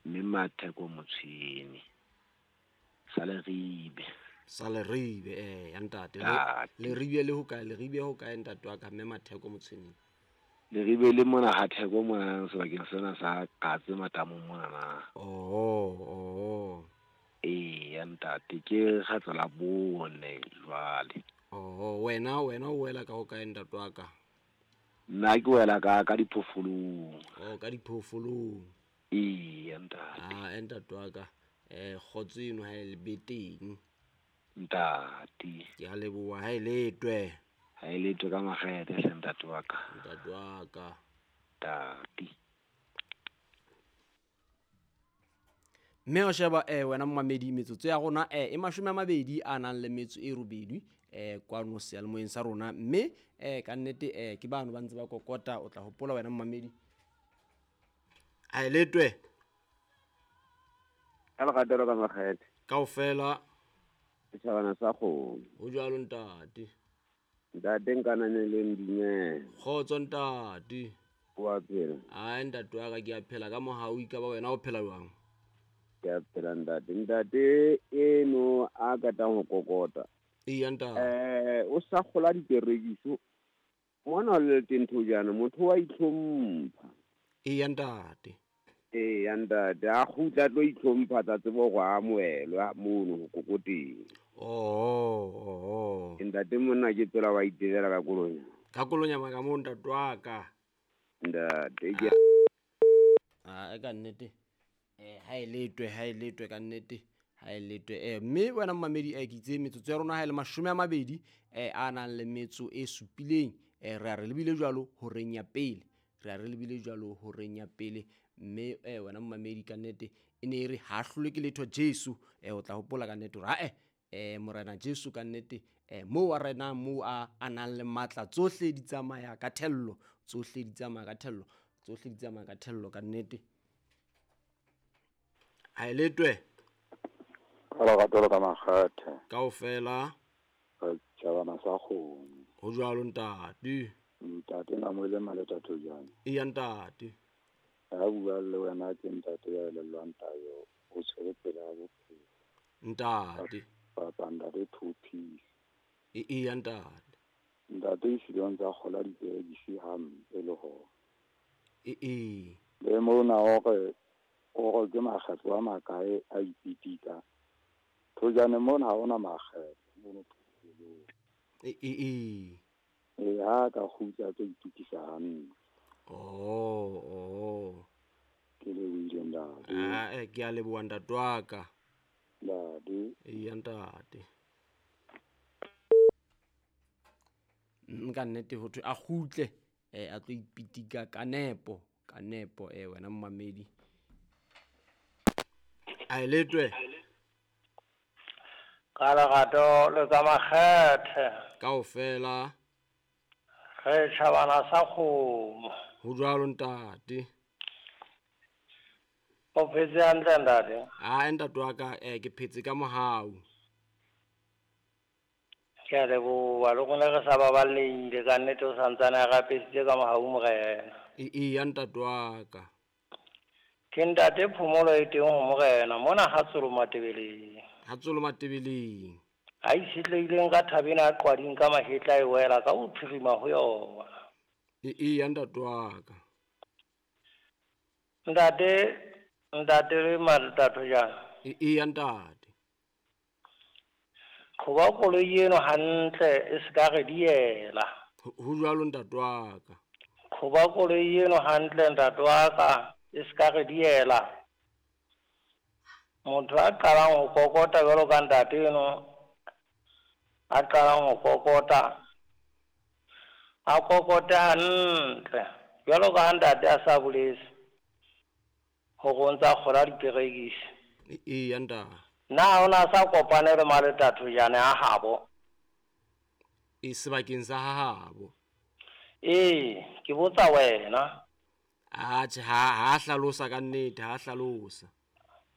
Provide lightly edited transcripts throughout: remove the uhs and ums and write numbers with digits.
Mme Matheko Motshweni. Sa Leribe. Sa Leribe, ya ntate. Ntate. Leribe le hokae? Leribe hokae ntate wa ka, Mme Matheko Motshweni? Leribe le mona ha Theko mona sebakeng sena sa Katse Matamong mona na. Oh, oh. Eya ntate, ke kgetlo la bone jwale. Oh, wena o wela ka hokae ntate wa ka? Nna ke wela ka diphoofolong. Oh, ka diphoofolong. Eya ntate. Ah, ntate wa ka. Kgotso eno ha e be teng. Ntate. Ke a leboha ha e letwe. Ha e letwe ka makgethe hle ntate wa ka. Ntate wa ka. Ntate. Mme o sheba wena momamedi, metsotso ya rona e 28 a nang le metso e robedi kwano seyalemoyeng sa rona. Mme ka nnete ke bano ba ntse ba kokota, o tla hopola wena momamedi. A e letwe. Ka leratelo ka makgethe. Kaofela. Setjhabana sa kgomo. Ho jwalo ntate. Ntate nkanane le ndumela. Kgotso ntate. Wa phela? Ai ntate wa ka, ke a phela ka mohau, ekaba wena o phela jwang? Ke a phela ntate. Ntate eno a katang ho kokota. Eya ntate. O sa kgola diperekiso. Mona o le teng thojana, motho wa itlhompha. Eya ntate. Eya ntate, a kgutla tlo itlhompha tsa tsebo go amohelwa mono ho kokoteng. Oh, oh. Ntate monna ke tsela wa itelela ka kolonya. Ka kolonya maka mo ntate wa ka. Ntate ke Ah, ka nnete. Ha e letwe, ha e letwe ka nnete. Ha e letwe. Mme wena momamedi, ke itse metsotso ya rona ha e le 20 a nang le metso e supileng. Re a re lebile jwalo horeng ya pele. Re a re lebile jwalo horeng ya pele. Mme wena momamedi ka nnete e ne e re ha hlolwe ke letho Jesu. O tla hopola ka nnete hore Morena Jesu ka nnete moo a renang, moo a nang le matla, tsohle di tsamaya ka thello, tsohle di tsamaya ka thello, tsohle di tsamaya ka thello ka nnete. Ha e letwe. Ka lerato ka makgethe. Kaofela. Setjhabana sa kgomo. Ho jwalo ntate. Ntate Namoile Maleta Thojane. Eya ntate. Ha bua le wena ke ntate ya elellwang tayo, o tshwere tsela ya bophelo. Ntate. Papa ntate two piece. Eya ntate. Ntate ehlile o ntsa kgola diperekisi hampe le hona. Ee. Le mona hore o re ke makgetlo a makae a ipitika. Thojane mona ha hona makgetlo mono phupelong. Ee. E ha ka kgutla tlo itukisa hantle. Oh, oh. Ke lebohile ntate. Ah, ke a leboha ntate wa ka. Ntate. Eya ntate. Nka nnete ho thwe a kgutle, a tlo ipitika ka nepo, ka nepo, wena momamedi. A e letwe. Ka lerato le ka makgethe. Kaofela. Re tjhabana sa kgomo. Ho jwalo ntate. O phetse hantle ntate? Ah, ntate wa ka, ke phetse ka mohau. Ke a leboha, le rona re sa baballehile ka nnete, o santsane a re apesitse ka mohau morena. Eya ntate wa ka. Ke ntate phomolo e teng ho morena, mona ha Tsolo Matebeleng. Ha Tsolo Matebeleng. A itshetlehileng ka thabeng a qwading ka mahetla e wela ka ho phirima ho yona. Eya ntate wa ka. Ntate, ntate le Maleta Thojane. Eya ntate. Qhoba koloi eno hantle e se ka re diela. Ho jwalo ntate wa ka. Qhoba koloi eno hantle ntate wa ka e se ka re diela. Motho a qalang ho kokota jwalo ka ntate eno, a qalang ho kokota, a kokote hantle jwalo ka ha ntate a sa boletse hore o ntsa kgola diperekisi. Eya ntate. Na o na sa kopane le Maleta Thojane a habo? E sebakeng sa habo. Ee, ke botsa wena. Atjhe, ha hlalosa ka nnete, ha hlalosa.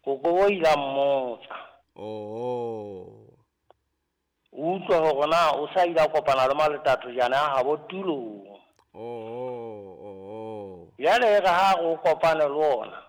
Koko o ile a mmotsa. Oh. Utlwa hore na o sa ile a kopana le Maleta Thojane a habo tulong. Oh, oh, oh. Jwale e re ha re o kopane le ona,